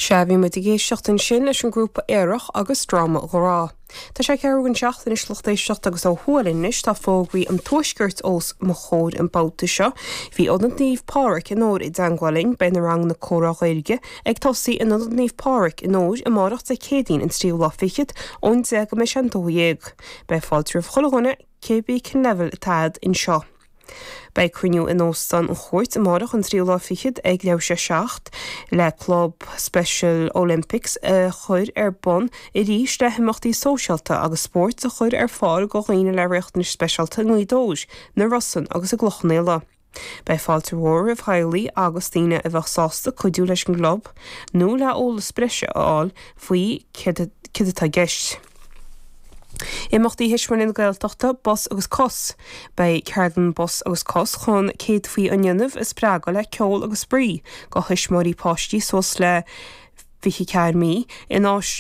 Sea, bhí muid ag éisteacht ansin leis an grúpa Aerach agus Dráma Grá. Tá sé ceathrú don seacht anois lucht éisteachta agus ó thuaidh linn anois tá fógraí an Tuaiscirt os mo chomhair an babhta seo. Bhí Ionad Naomh Pádraig i nDobhar i dteangmháil linn, beidh na ranganna comhrá Gaeilge ag tosaí in Ionad Naomh Pádraig i nDobhar amárach Dé Céadaoin an tríú lá fichead ón 10 go mbeidh sé an 12. Beidh fáilte roimh chuile dhuine, cébí cén leibhéal atá a'd anseo. Beidh cruinniú in Óstán an Chúirt amárach an tríú lá fichead ag leathuair tar éis a 7 le Club Special Olympics a chur ar bun arís le himeachtaí sóisialta agus spóirt a chur ar fáil do dhaoine le riachtanais speisialta i nGaoth Dobhair, na Rosann agus i gCloich Cheann Fhaola. Beidh fáilte mhór roimh theaghlaigh agus daoine a bheadh sásta cuidiú leis an gclub nó le eolas breise a fháil faoi céard atá i gceist. Imeachtaí Thuismitheoirí na Gaeltachta, Bos agus Cos. Beidh ceardlann Bos agus Cos chun céadfaí an linbh a spreagadh le ceol agus spraoi do thuismitheoirí páistí suas le 24 mí in.